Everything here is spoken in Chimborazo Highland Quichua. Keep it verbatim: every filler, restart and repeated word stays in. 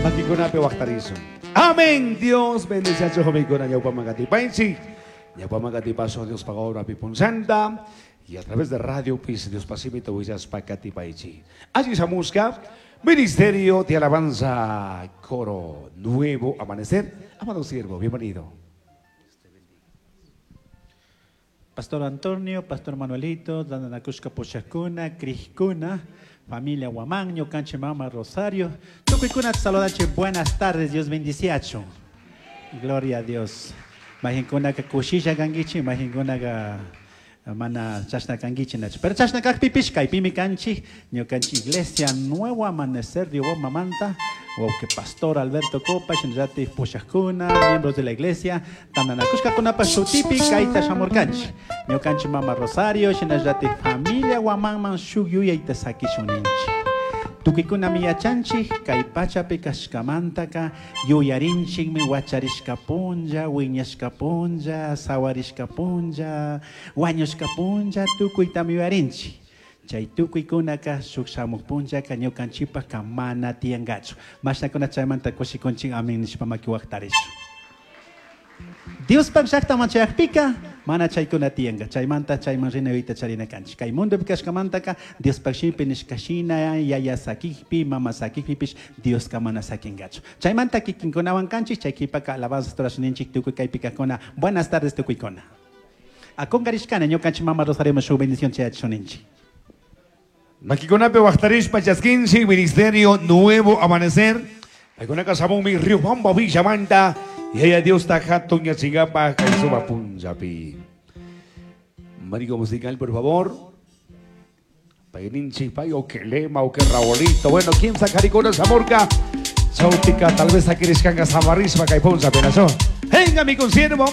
Makikunapi waqtarisun. Amén. Dios bendice a su jovencuna ñawpaman. Ñawpaman paso Dios obra punzanta y a través de radio pis Dios pasimito willaspa katipaychi. Allí musca Ministerio de Alabanza Coro Nuevo Amanecer. Amado siervo, bienvenido. Pastor Antonio, Pastor Manuelito, Dandanakushka Pochacuna, Criscuna, familia Guamán, Ñocanche Mama Rosario. Tukuykuna saludache, buenas tardes, Dios bendiciacho. Gloria a Dios. Majinkuna ka kushisha kankichi, majinkuna ka mana chashna kankichi nachu. Pero chashna kajpipish kaypimi kanchik, ñukanchik Iglesia Nuevo Amanecer de Mamanta, que Pastor Alberto Copa, shinallati pushakuna, miembros de la iglesia, tandanakushkakunapa shutipi kayta shamurkanchik. Ñukanchik Mama Rosario, shinallati familia Guamanman shuk yuyayta sakishun ninchik. Tukuykunami yachanchik kay pachapi kashkamantaka yuyarinchikmi wacharishka punlla, wiñashka punlla, sawarishka punlla, wañushka punlla, tukuytami yuyarinchik. Chay tukuykunaka shuk shamuq punllaka ñukanchikpaka mana tiyankachu. Mashnakuna chaymanta kushikunchik amin nishpa maki waqtarishun. Diospaq llaqtaman chayaqpika mana chaykuna tiyanka. Chaymanta chayman rina yuyayta charina kanchik. Kay mundopi kashkamantaka Diospaq shimipi nishka shina yaya sakikpi, mama sakikpipish Dioska mana sakinkachu. Chaymanta kikinkunawan kanchik, chay qhipaka alabanzas rurashninchik tukuy kaypi kaqkuna. Buenas tardes tukuykuna. Akunkarishkani ñukanchik Mama Rosario shuk bendición chayachishuninchik. Makikunapi waqtarishpa chaskinchik Ministerio Nuevo Amanecer. Paykunaka shamunmi Riobamba Villamanta. Yaya Dios ta hatun yachingapa kay suma punllapi. Marico musical, por favor. Payninchik pay o que lema o que Raulito. Bueno, ¿quién sacaricona zamorca? Chautica, tal vez aquí samarrisma kay punllapi nacho. Venga mi consiervo.